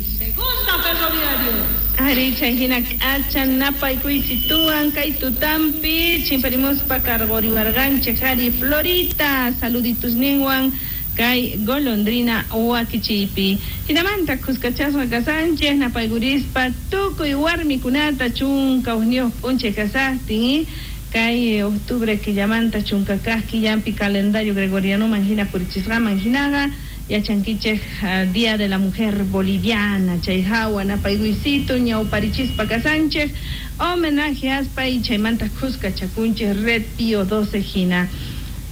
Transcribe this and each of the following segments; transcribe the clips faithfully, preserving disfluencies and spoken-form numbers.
Segunda Ferroviario. Ari chayhina k'acha napaykuychituwan kay tutampi chimparimuspa karquriwarqanchik ari Florita saluditus ninwan kay golondrina wakichiypi. Hinamanta kuskachasqa kasanchik napaykurispa tukuy warmikunata chunka hukniyuq p'unchay kasaqtin kay octubre killamanta chunka kaq killampi calendario gregorianoman hina purichisqaman hinaqa yachankichik uh, Día de la Mujer Boliviana chay hawa napaykuysito ñawparichispa kasanchik homenaje aspa y chaymanta kuskachakunchik Red Pío doce hina.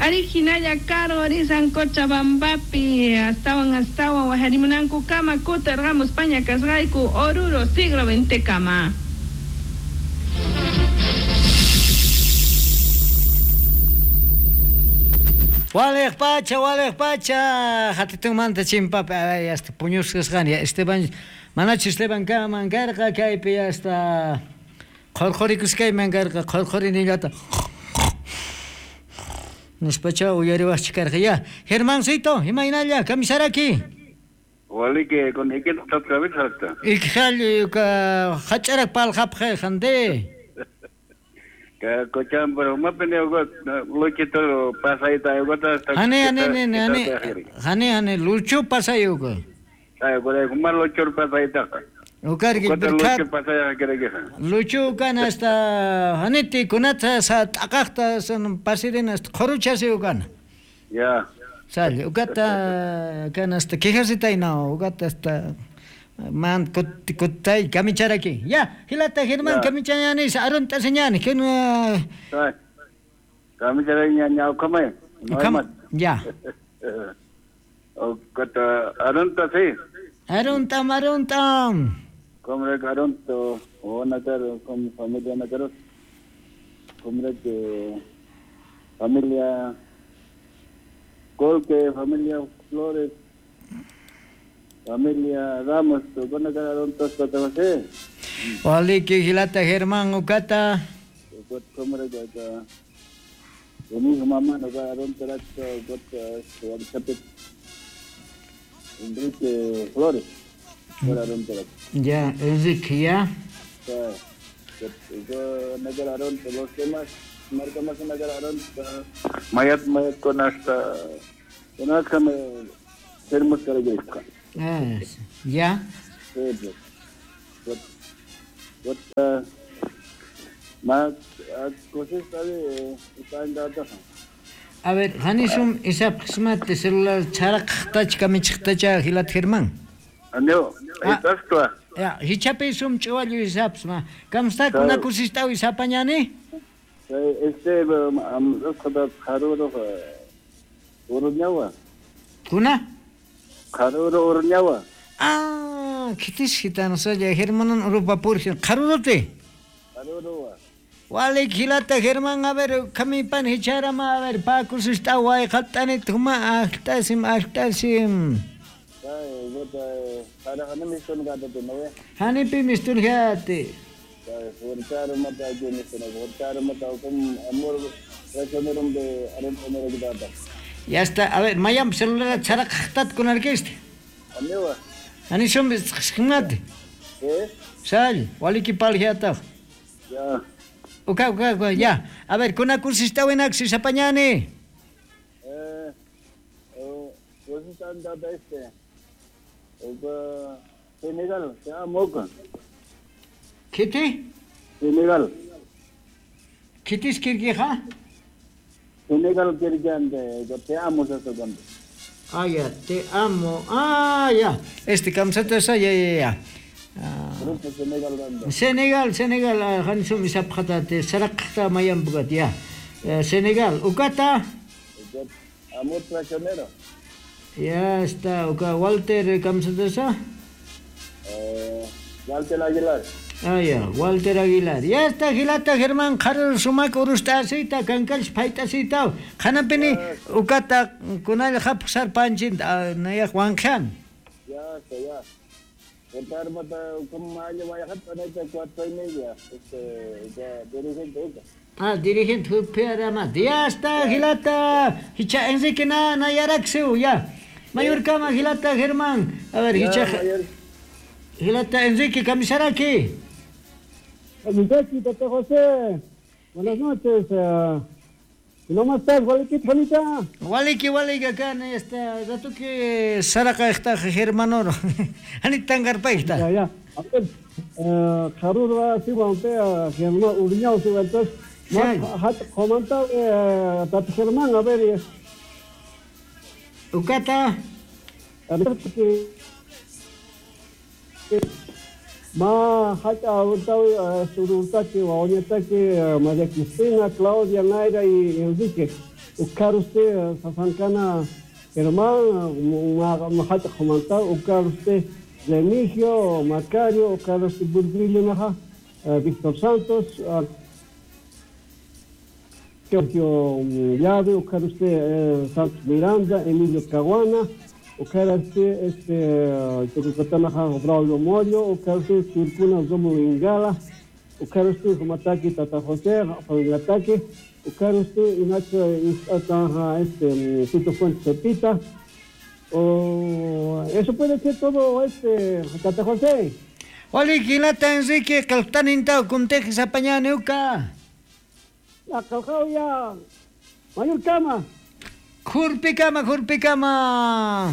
Ari hinalla karqurisan Cochabambapi astawan astawan wajarimunanku kama kutirqamus paña kasqayku Oruro siglo veinte kama. Walej pacha, walej pacha, hatitunmanta chimpapi, ay, hasta puñusqasqani, Esteban, manachu Esteban kaman karqa, kaypi hasta qhurqhurikusqayman karqa, qhurqhurinillata nispacha uyariwaqchik karqa, ya. Germancito, imaynalla, kamisaraki. Waliki, con ikin tatkamitaqta. Ikjallu, hach'arak palqapqa jande. Cochabamba, mapene luchito pasayta yugota. Hane hane hane hane hane hane lucho pasayugo. Ay, por kuma lucho pasayta. Ukargi lucho pasaya kerege. Lucho kan hasta haneti kunata sa taqaqta san pasirin hasta qhuruchasi ukan. Ya. Sal, ukata kan hasta quejasita no, ukata hasta man kut kutay kamicharaki. Ya, hilata Germán kamichayani arunta señani ken kamicharaki ña kamay. Ya. Ukata arunta sí. Arunta marunta. Comre arunto o nakar con familia nakar. Comre que familia Colque, familia Flores. Familia Ramos, ¿cuándo quedaron todos los Waliki hilata Germán ukata. ¿Cómo era que mi mamá no quedaron todos Enrique Flores? Ya, Enrique, ya. No quedaron los demás, marca más no quedaron. Mayat mayat con hasta con hasta me sermos característica. Ah, ya. A ver, hanisum isap qismati celular charaqtach kamichiqtacha hilat Germán. Aneo, estás Ya, hichapi sum ch'uwallu isaps ma. Kamsta kunakusistaw isapañani? Este am usqada qaruro uruñawa. Kuna? Qaruro uruñawa. Ah, kitis gitano soy Germán urupa purgin. Qarurote. Qarurowa. Walik hilata Germán, a ver, kamipan hicharama, a ver, pakusistaw qatani tuma aqtasim aqtasim. Ay, bota para hanimi mistun gata no. Hanipi mistun gati. Furtaro mata aquí mistun, furtaro mata kum amor resonerum de arum onera gata. Ya está, a ver, mayam celular charaqtat con arquiste. Amiwa. Ani shum ximnati. ¿Eh? Sal, waliki palgiata. Ya. Uka, uka, uka, ya. A ver, kuna kursista wenaxi sapañani. Eh, eh, kursista andata este. Uka Senegal, te amo. ¿Qué? Senegal. ¿Qué kirgija? Senegal kirgante, te amo se Ah, ya, te amo. Ah, ya. Este camiseta esa, ya, ya, ya. Grupo Senegal banda. Senegal, Senegal, hansum isapqata saraqta mayambugat, ya. Senegal, ukata. Amor traicionero. Ya está, uka Walter camiseta esa. Eh, Walter Aguilar. Ah, ya, Walter Aguilar. Ya está, Gilata Germán, Jarul Sumac, Urustasita, Kankalch, Paitasita. Hanapini, ukata, Kunal Hapsar Panchin, Naya Juan Jan. Ya está, ya. Ah, dirigente, ya está, Gilata. Hicha Enrique na, Nayaraxeu, ya. Mayor Kama, Gilata Germán. A ver, Hicha. Hilata Enrique Camisaraki. Camisaraki, Tata José. Buenas noches. Uh, ¿Cómo estás, Waliki, Juanita? Waliki, Waliki, acá en este rato que Saraca está Germanoro. Anita Tangarpaista. Ya, ya. A ver, Jarurba, Siguampea, Germán, Uriñao, Siguantes. Comenta, Tata Germán, a ver. Ucata. A ver, que. Ma hata urtawi sururtaki waoñataki María Cristina, Claudia, Naira y Enrique. Ucaruste Sasancana Germán, ma hata comenta Ucaruste Remigio, Macario, Ucaruste Burgrillo Naja, Víctor Santos, Sergio Llave, Ucaruste Santos Miranda, Emilio Caguana. Ucaruste este Tucutanaja Braulio Morio, Ucaruste Turcuna Zomo Ingala, Ucaruste Humataki Tata José, Familiataki, Ucaruste Inacho Istataja este Tito Fuentes Pepita. Oh, eso puede ser todo este Tata José. Oli Quilata Enrique Caltanintao Cuntejes Apañaneuca. La Calcao ya Mayor Cama. Jurpicama, Jurpicama.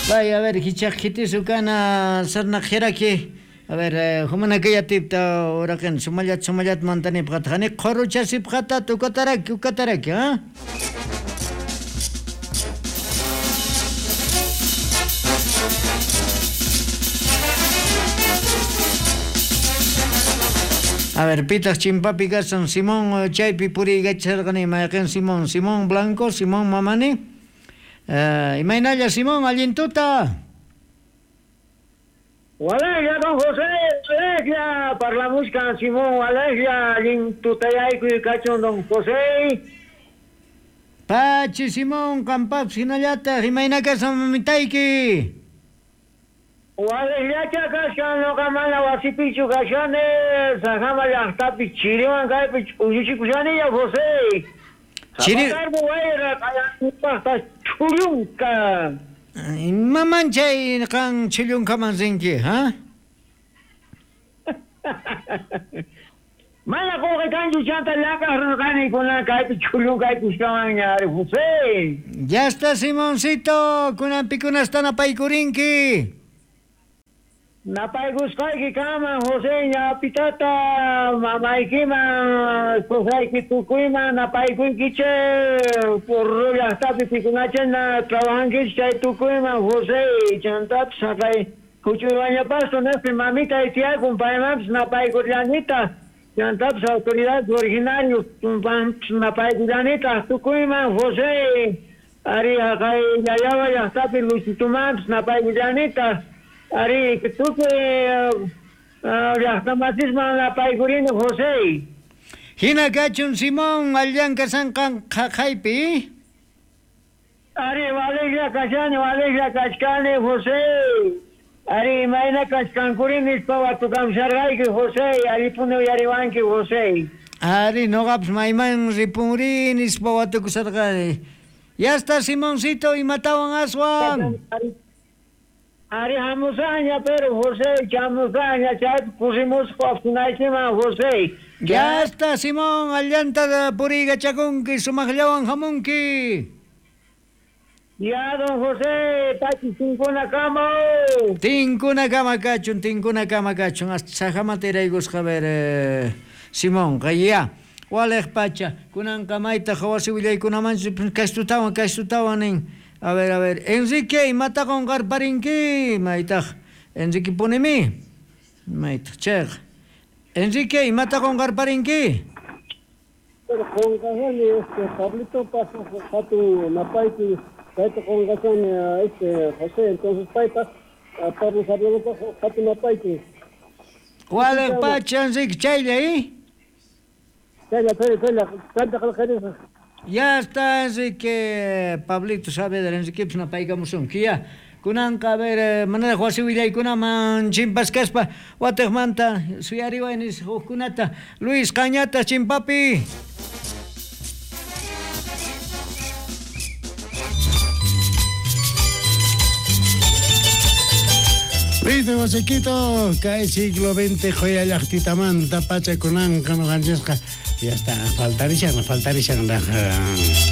Vaya, a ver, hichajitisucana, sarnajiraki. A ver, humanakaya tipta, uraken, sumayat, sumayat, mantanipqatjani, qhoruchasipqata, tukataraki, ukataraki, ¿ah? A ver, pitas chimpapi kasan Simón chaypi puriykacharqani mayqin Simón, Simón Blanco, Simón Mamani. Uh, imaynalla Simón, allintuta. Walegia, don José, walegia, parlamuskan Simón, walegia, allintutayaykuy kachun don José. Pachi Simón, qampapis hinallataq, imayna kasan mamitayki. Walellacha kashan noqa mana wasipichu kashani, sajama llaqtapi chiriwan kaypi ch'ulluchikushaniña José. Chiri wayra qallanpaqta ch'ullunka. Imaman chay qan chillunkaman rinki, ha? Mana qullqi kanchu chanta llakaq rirqani kunan kaypi ch'ullunkaykushkawanña ari José. Ya está Simoncito, kunan pikunasta napaykurinki. Napaykusqayki kaman José ñapitata mamaykiman esposayki tukuyman napaykuykichik por llaqtapi pikunachena trabajankichik chay tukuyman José chantapis haqay huch'uywañapasto nispi mamitay tiyakun paymanpis napaykullanitaq chantapis autoridades originarios tumpanpis napaykullanitaq tukuyman José ari haqay Yayaba llaqtapi Luchitumanpis napaykullanitaq Ari, tukuy llaqtamasisman napaykurini José. Hina kachun Simón, allan kasanqan qhaqhaypi. Ari, waliqlla kashani, waliqlla kachkani José. Ari, imayna kachkankurini nispa watukamsharqayki José, aripuni uyariwanki José. Ari, noqapis mayman ripunri nispa watukusharqani. Ya está Simoncito, imatawan aswan. Ari hamusaña, pero José, chamusaña, chay pusimusqa apunaykiman José. Ya está Simón, allanta puriykachakunki, sumaqllawan hamunki. Ya, don José, pachi tinkunakama. Tinkunakama kachun, tinkunakama kachun, hasta sajamata iraykusqa ver eh, Simón, ya. Waliq pacha, kunanqa maytaq wasi willaykunamanchu kashtutawan, kashtutawan nin. A ver, a ver, Enrique, imata qunqarparinki, maytaq, Enrique punimi, maytaq, chayqa. Enrique, imata qunqarparinki. Pero qunqashani, este, Pablito pasó hatun napaypi, kayta qunqashani, este, José, entonces paypaq, Pablo Saavedra hatun napaypi. Waliq pacha, Enrique, chaylla, ¿eh? Chaylla, chaylla, chaylla, kanta qillqarisaq. Ya está Enrique, Pablito Saavedra, Enrique napaykamusunki, ya. Kunanqa, a ver, manaraq wasi willaykunaman chimpas kaspa, watiqmanta suyariway nisqa hukkunata. Luis Cañata, chimpapi. Listo, Josequito, kay siglo veinte joya llaqtitamanta pachakunanqa noqanchisqa ya está, faltarishan, faltarishan.